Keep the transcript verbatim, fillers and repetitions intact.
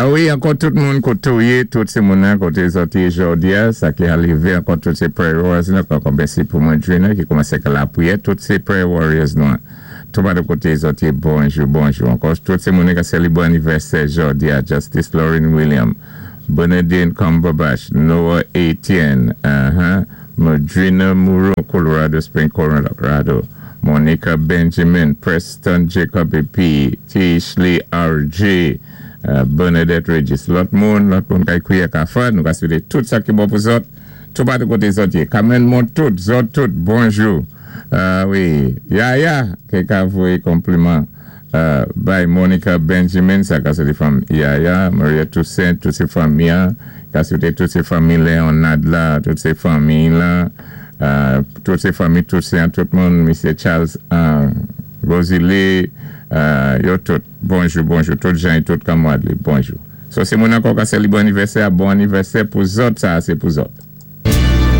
Ah wi, ankò tout moun koté ou yé, tout sé moun koté zòt yé jòdi-a, sa ki arivé ankò tout sé prayer warriors nou, ankò mèsi pou Madrina ki koumansé ak lapriyè, tout sé prayer warriors nou. Tout pa de koté zòt yé, bonjou, bonjou. Ankò tout sé moun ki sélébwé anivèsè jòdi-a, Justice Lauren William, Bernadine Cumberbatch, Noah Etienne, uh-huh, Madrina Moreau, Colorado Springs, Colorado, Monica Benjamin, Preston Jacob P, Tishley R J, uh, Bernadette Regis. Lòt moun, lòt moun kay kwiya ka fè, nou ka swété tout sa ki bon pou zòt, tout pa de koté zòt yé. Kamen moun tout, zòt tout, bonjou. Uh, wi, Yaya, ki ka voyé konpliman uh, bay Monica Benjamin, sa ka sé fanmi Yaya, Maria Toussaint, tout sé fanmi, ka swété tout sé fanmi Leonard la, tout sé fanmi la, uh, tout sé fanmi Toussaint, tout moun, Misye Charles uh, Rosalie, uh, yo tout, bonjou, bonjou, tout jan, tout kanmwad li, bonjou. So sé moun ankò ka sélébré anivèsè, bon anivèsè pou zòt, sa sé pou zòt.